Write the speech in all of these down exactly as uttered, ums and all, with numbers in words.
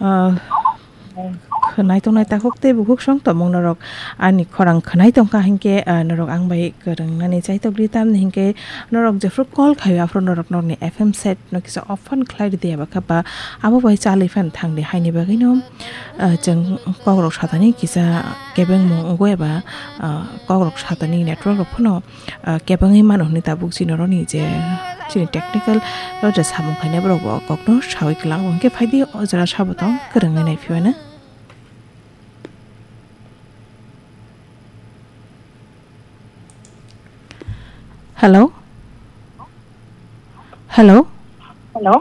Ah, khwnai tongnai takhuk tei bukhuk song tongmung norok ani khorang khwnai tongkha hinkhe, ah, norok ang bai kwrwng nani chaitok di tamni hinkhe norok jephru call khaio aphuru norok norokni F M set no kisa off phan khlai ridi eba khe ba abo bai chalwi phan thangdi haini bagwino, ah, chwng kokrok satani kisa kebengmung wngo eba, ah, kokrok satani network rok phano ah, kebengwi mano hwnwi tabuk chini oroni je chini technical o je samung khainai borok bo kokno sawi kwlango. Hwnkhe phaidi o jora sabo tong kwrwngwi nai phiya na. Hello? Hello? Hello?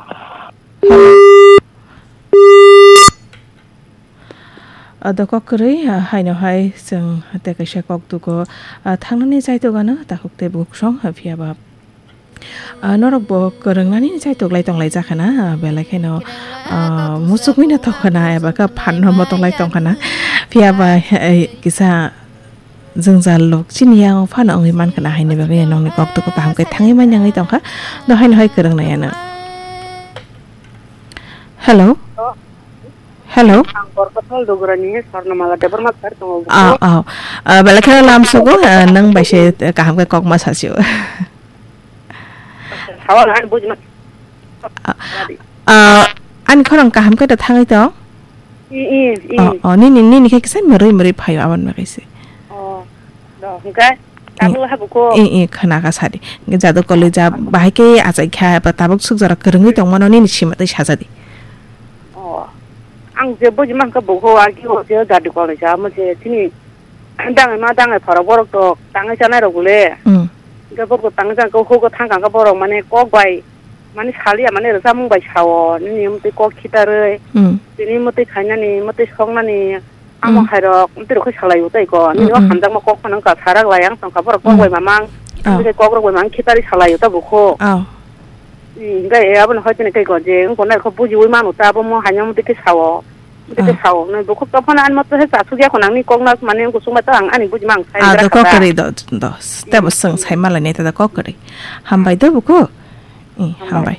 Ah, dokok kwrwi, ah, haino hai chwng tei kaisa kok dugo, ah, thangnani chaitokgano takhuk tei bukhuk song, ah, phiya ba, ah, norok bo kwrwngnani chaitok lai tong lai jakha na, ah, belai kheno, ah, muchukmino tongkha na, eba khe phanno motok lai tongkha na, phiya ba, eh, kisa jwngjal lok chini yang phano wngwi mankha na, haini bagwi nokni kok dugo kaham khe thangwi manya wngwi tongkha, no haino hai kwrwng nai ano. Hello? Hello? Ang Borkothol Dugurani Swarnamala Debbarma sir tongo. Ah, ah. Ah, belai kheno lam sugo, ah, nang bai se kaham khe kok ma sasio. Sawa na bujma. Ah, ah, ani khorang kaham khe da thangwi tong? I, i, i. Oh, oh, nini, nini khe kisa mrwi mrwi phaio aboni bagwi se. Oh, do, hwnkhe? Tabuk habuko. I, i, khna kha sadi. Hwnkhe jadu koli ja bahai khe achai kha, ba tabuk suk jora kwrwngwi tongmano nini sima tei sajadi. Oh. Ang je buji mankha buko agi o je jadu koli ja mo je chini dangai ma dangai phara borok to tangai chanai rok le. Hmm. Hwnkhe borok tangai chanai khe hugo thang kha borok mane kok bai mane salia mane rwchapmung bai sao nini mtwi kok khitarwi. Hmm. Tini mtwi khainani mtwi soknani. Amo Mm. hairok, mtwi rok khe salai o tei ko. Nini o Mm, mm. hamjakma kok phano wngkha, sarak lai ang tongkha, borok kok Mm. bai mamang. Ah. Mtwi khe kok rok bai mamang khitari salai o tabuk kho. Ah. Mm, hingkhe e abono hoi tini tei ko je, wngkha nai kho bujiui manu ta, abo mo haino mtwi khe sao. Mtwi khe Ah. sao, nai bukhuk tong phano ani motto he chasuk ya kho nangni kok nak mani wngkha chwngma ta ang ani buji mang sai Ah, bera do kok kha ta. Kwrwi do, do. Tebo Mm. swng sai malai nai ta do kok kwrwi. Hambai do bukhuk. Eh, hambai. Hambai.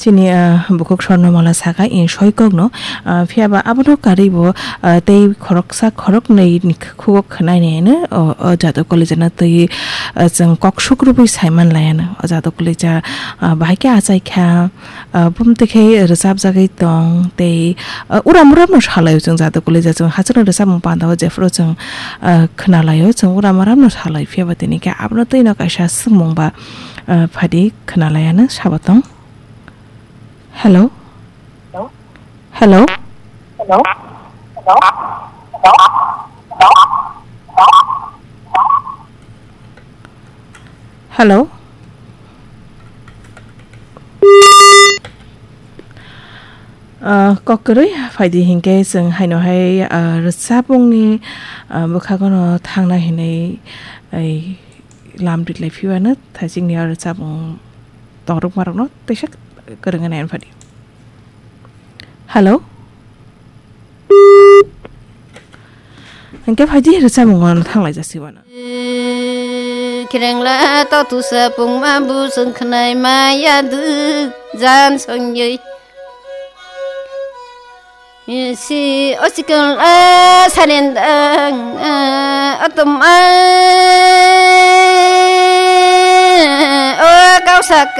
Chini, ah, bukhuk Swarnamala sakha, eh, soikokno, ah, phiyaba abono karwi bo, ah, tei khoroksa khoroknwi ni khugo khwnai nai hino, o, o jadu koli jana twi, ah, chwng kok suk rwui sai man lai ano. O jadu koli ja, ah, bahai khe achai kha, ah, bumtwi khe rwchapjagwi tong tei, ah, uram uramno salai o chwng jadu koli ja chwng hachwkno rwchapmung panda o jephuru chwng, ah, khna lai o chwng uram uramno salai phiyaba tini khe abono twino kaisa swngmung ba, ah, phadi khna lai ano sabo tong. Hello? Hello? Hello? Hello? Ah, kok kwrwi phaidi hinkhe chwng haino hai, ah, rwchapmungni, ah, bwkhagono thangna hinwi, ai, lam rilai phiwano thaichikni o rwchapmung tongrwkmarokno teisa kwrwngwi nai phadi. Hello? Hinkhe phaidi rwchapmungo thanglai jasiwano. Kirengla to tusa pungma bu sung khnai ma ya du jan song yoi. Si o sikang a sarendang a atom a o kausak